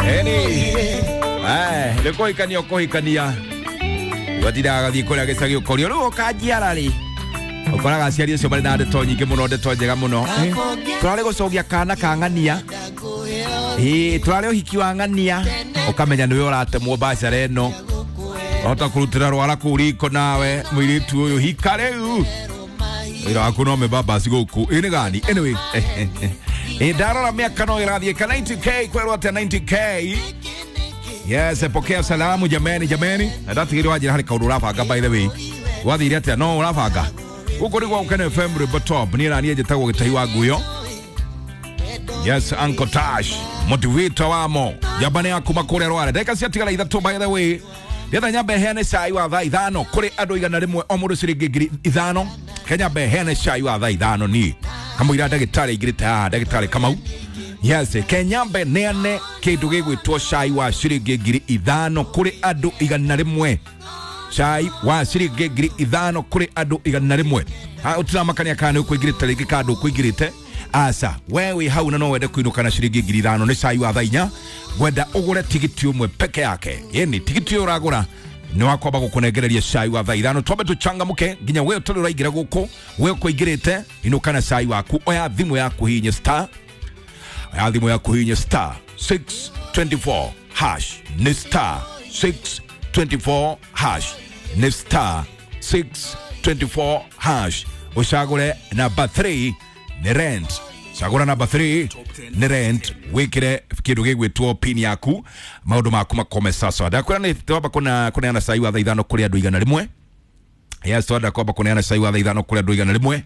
Eni eh nĩ kũhikania ũkũhikania watindaga gathiĩ kũrĩa gĩcagi ũkorio rĩu ũkanjiara rĩ ũkoraga aciari acio marĩ na ndeto nyingĩ mũno, ndeto njega mũno. Tũrarĩ gũcogia kana ka ng'ania, ĩĩ tũrarĩ ũhiki wa ng'ania, ũkamenya nĩwe ũratemwo biacara ĩno, wahota kũrutĩra rwara kũu riko nawe mũirĩtu ũyũ hika rĩu wĩra waku no mĩbambasi gũkũ ĩ nĩ gani. Anyway, ĩ ndarora mĩaka no ĩrathiĩ ka 90K kwerwo atĩa 90K. Yes, pokea salamu jameni, jameni. Na ndatigĩrwo wanjĩra harĩ kaũndũ ũrabanga, by the way wathire atĩa no ũrabanga gũkũ nĩ gwa Gũkena FM Rwĩmbo Top. Niĩ na niĩ njĩtagwo Gĩtahi wa Nguyo. Yes, Uncle Tash motivator wamo njamba ya kuma kũrĩa Rware. Ndagĩka ciatigara 3, by the way ndĩretha nyambe heane cai wa thaa 5 kũrĩ andũ 100 o mũndũ ciringi 5,000. Kenyambe heane cai wa thaa 5 niĩ kamũira ndagĩtarĩ aingĩrĩte haha, ndagĩtarĩ Kamau. Yes, kenyambe neane kĩndũ gĩgwĩtwo cai wa ciringi 5,000 kũrĩ andũ 100, cai wa ciringi 5,000 kũrĩ andũ 100. Ha ũtiramakania kana nĩ ũkũingĩrĩte rĩngĩ kana ndũkũingĩrĩte, aca we wĩ hau na no wende kũinũka na ciringi 5,000 nĩ cai wa thaa 4. Ngwenda ũgũre tigiti ũmwe peke yake, yani tigiti ũyũ ũragũra nĩ wakwamba gũkũnengereria cai wa thaa 5. Twambe tũchangamũke nginya we ũtarĩ ũraingĩra gũkũ, we ũkũingĩrĩte inũka na cai waku. Oya thimũ yaku hihinye star, oya thimũ yaku hihinye star 624 hash, nĩ star 624 hash, nĩ star 624 hash, ũcagũre namba 3 nĩ rent. Cagũra namba 3 nĩ rent, wĩkĩre kĩndũ gĩgwĩtwo pin yaku, maũndũ maku makome sasa. Ndakwĩra nĩ twamba kũneana cai wa thaa 5 kũrĩ andũ 100. Yes, twenda kwamba kũneana cai wa thaa 5 kũrĩ andũ 100,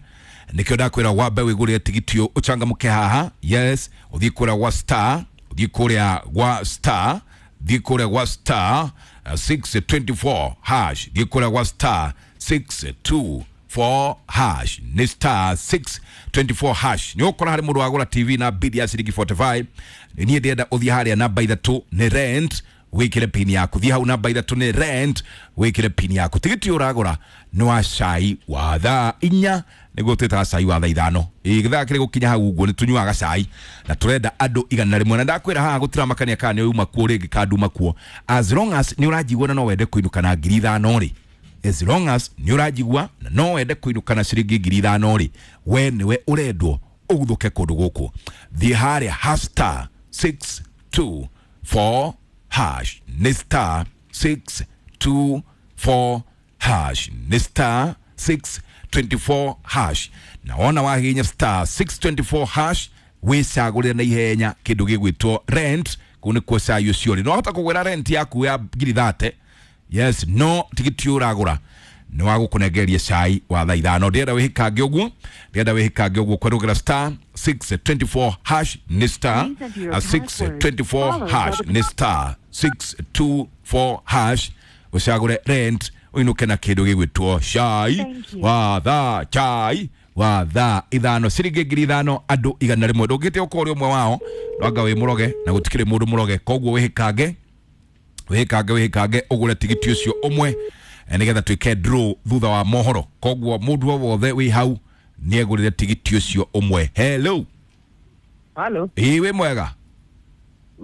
nĩkĩo ndakwĩra wambe wĩgũrĩre tigiti ũyũ ũchangamũke haha. Yes, ũthiĩ kũrĩa gwa star, ũthiĩ kũrĩa gwa star, thiĩ kũrĩa gwa star 624 hash, thiĩ kũrĩa gwa star 624 hash, nĩ star 624 hash. Nĩ ũkora harĩ mũndũ wagũra TV na bid ya ciringi 45. Niĩ ndĩrenda ũthiĩ harĩa namba 3 nĩ rent, wĩkĩre pin yaku. Thiĩ hau namba 3 nĩ rent, wĩkĩre pin yaku. Tigiti ũyũ ũragũra nĩ wa cai wa thaa 4, nĩguo twĩtaga cai wa thaa 5. Ĩ gĩthaa kĩrĩ gũkinya hau ũguo nĩ tũnyuaga cai na tũrenda andũ 100. Na ndakwĩra haha gũtiramakania kana nĩ uma kuo rĩngĩ kana nduma kuo, as long as nĩ ũranjigua na no wende kũinũka na 5,000 rĩ, as long as nĩ ũranjigua na no wende kũinũka na ciringi 5,000 rĩ, we nĩwe ũrendwo ũguthũke kũndũ gũkũ. Thiĩ harĩa ha star 624 hash, nĩ star 624 hash, nĩ star 624 hash. Na wona wahihinya star 624 hash wĩcagũrĩre na ihenya kĩndũ gĩgwĩtwo rent. Kũu nĩkuo cai ũcio ũrĩ. No wahota kũgũra rent yaku ya ngiri 30. Yes, no tigiti ũragũra nĩ wa gũkũnengereria cai wa thaa 5. Ndĩrenda wĩhĩkange ũguo, ndĩrenda wĩhĩkange ũguo kwerũgĩra star 624 hash, nĩ star 624 hash, nĩ star 624 hash, ũcagũre rent ũinũke na kĩndũ gĩgwĩtwo cai wa thaa, chai wa thaa 5, ciringi 5,000 andũ 100. Ndũngĩte ũkorwo ũrĩ ũmwe wao, no wĩ mũroge na gũtikĩrĩ mũndũ mũroge, koguo wĩhĩkange, wĩhĩkange, wĩhĩkange ũgũre tigiti ũcio ũmwe nĩgetha twĩke draw thutha wa mohoro. Koguo mũndũ o wothe wĩ hau nĩegũrĩre tigiti ũcio ũmwe. Hello. Halo. Ĩĩ wĩ mwega?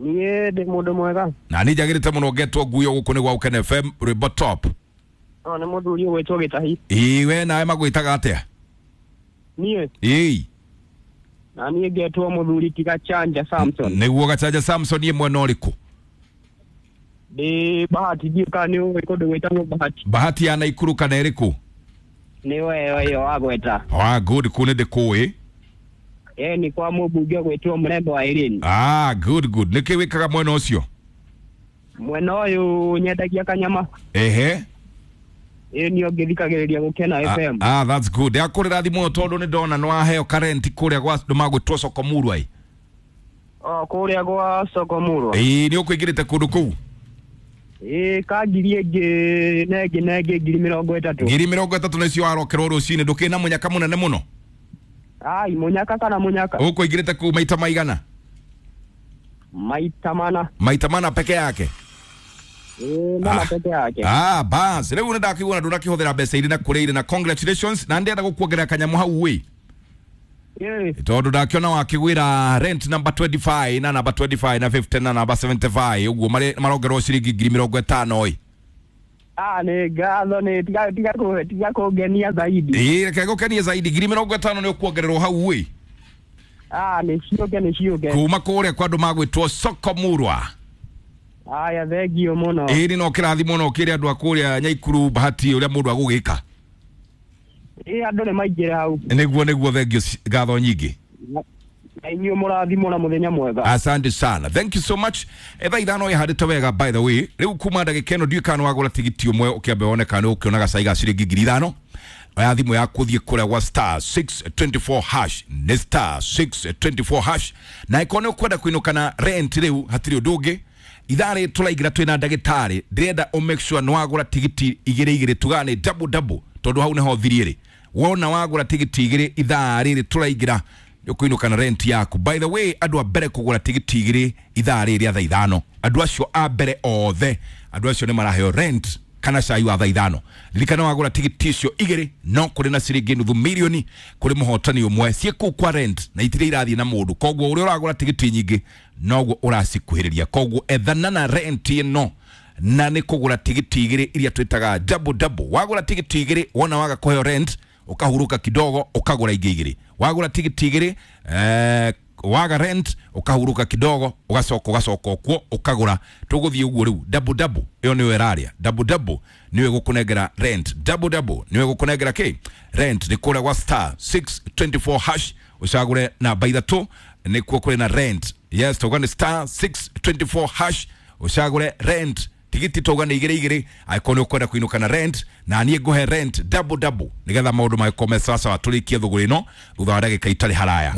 Niĩ ndĩ mũndũ mwega. Na niĩ njagĩrĩte mũno ngetwo Nguyo gũkũ nĩ gwa Gũkena FM Rwĩmbo Top. No nĩ mũthuri ũgwĩtwo Gĩtahi. Ĩĩ we nawe magwĩtaga atĩa? Niĩ. Ĩĩ. Na niĩ ngetwo mũthuri ti Gachanja Samson. Nĩguo Gachanja Samson, ĩ mwena ũrĩkũ? Ndĩ Bahati, ndiũĩ kana nĩ ũĩ kũndũ gwĩtagwo Bahati. Bahati ya Naikuru kana ĩrĩkũ? Nĩ we ĩyo wagweta. Ah, good, kũu nĩ ndĩkũĩ. Ĩ nĩ kwa mũmbunge ũgwĩtwo Mũrembo wa Irene. Ah, good, good. Nĩkĩ wĩkaga mwena ũcio? Mwena ũyũ nyendagia kanyama. Ehe. Ĩ niĩ ngĩthikagĩrĩria Gũkena FM. Ah, that's good. Ndakũrĩra thimũ tondũ nĩ ndona nĩ waheo karenti kũrĩa gwa andũ magwĩtwo Sokomurwa. O kũrĩa gwa Sokomurwa. Ĩĩ nĩ ũkũingĩrĩte kũndũ kũu? Ĩĩ ka ngiri ĩngĩ na ĩngĩ na ĩngĩ 30,000. 30,000 nĩcio warokerwo rũcinĩ, ndũkĩrĩ na mũnyaka mũnene mũno? Ai mũnyaka kana mũnyaka? Ũkũingĩrĩte kũu maita maigana? Maita mana. Maita mana peke yake? Ĩĩ mana peke yake. Ah, bas rĩu nĩ ndakĩigua na ndũnakĩhũthĩra mbeca irĩ na kũrĩa irĩ na congratulations, na ndĩrenda gũkuongerera kanyamũ hau wĩ. Tondu ndakiona wakigwira rent number 25 na number 25 na 50 na number 75 uguo marongerwo ciringi 50,000 ĩ. Ah, nĩ ngatho, nĩ tiga tiga tiga kũngenia zaidi. Ĩ, reke ngũkenie zaidi, 50,000 nĩ ũkuongererwo hau ĩ. Ah, nĩ ciũke, nĩ ciũke. Kuma kũrĩa kwa andũ magwĩtwo Soko Murwa. Aya, thengio mũno. Ĩ, no kĩrathimo no kĩrĩ andũ a kũrĩa Nyaikuru Bahati ũrĩa mũndũ agũgĩka. Ĩ, andũ nĩ maingĩre hau. Nĩguo, thengio, ngatho nyingĩ. Na inyuĩ mũrathimwo na mũthenya mwega. Asante sana, thank you so much. Thaa 5 ĩhandĩte wega. By the way, rĩu kuma ndagĩka ĩno ndiũĩ kana wagũra tigiti ũmwe ũkĩambe wone kana ũkĩona gacai ga ciringi 5,000. Oya thimũ yaku ũthiĩ kũrĩa gwa star 624 hash, nĩ star 624 hash, na ĩkorwo nĩ ũkwenda kũinũka na rent rĩu hatirĩ ũndũ ũngĩ. Ithaa rĩ tũraingĩra twĩna ndagĩtarĩ, ndĩrenda ũ make sure nĩ wagũra tigiti igĩrĩ igĩrĩ, tugaga nĩ double double, tondũ hau nĩho thirie rĩ. Wona wagũra tigiti igĩrĩ ithaa rĩrĩ tũraingĩra ũkũinũka na rent yaku. By the way, andũ a mbere kũgũra tigiti igĩrĩ ithaa rĩrĩ rĩa thaa 5, andũ acio a mbere othe, andũ acio nĩ maraheo rent kana cai wa thaa 5. Ririkana wagũra tigiti icio igĩrĩ no kũrĩ na ciringi 500,000 kũrĩ mũhotani ũmwe ciĩ kũu kwa rent, na itirĩ irathiĩ na mũndũ. Koguo ũrĩa ũragũra tigiti nyingĩ noguo ũracikuhĩrĩria. Koguo ethana na rent ĩno na nĩ kũgũra tigiti igĩrĩ iria twĩtaga double double. Wagũra tigiti igĩrĩ, wona waga kũheo rent, ũkahuruka kidogo ũkagũra ingĩ igĩrĩ. Wagũra tigiti igĩrĩ, waga rent, ũkahuruka kidogo, ũgacoka ũkuo ũkagũra. Tũgũthiĩ ũguo rĩu double double ĩyo nĩyo ĩrarĩa, double double nĩyo ĩgũkũnengera rent, double double nĩyo ĩgũkũnengera kĩ rent. Nĩ kũrĩa gwa star 624 hash, ũcagũre namba ithatũ nĩkuo kũrĩ na rent. Yes, tauga nĩ star 624 hash, ũcagũre rent. Tigiti tauga nĩ igĩrĩ igĩrĩ angĩkorwo nĩ ũkwenda kũinũka na rent, na niĩ ngũhe rent double double nĩgetha maũndũ magĩkorwo me sawasawa. Tũrĩkie thũgũrĩ ĩno thutha wa ndagĩka itarĩ haraya.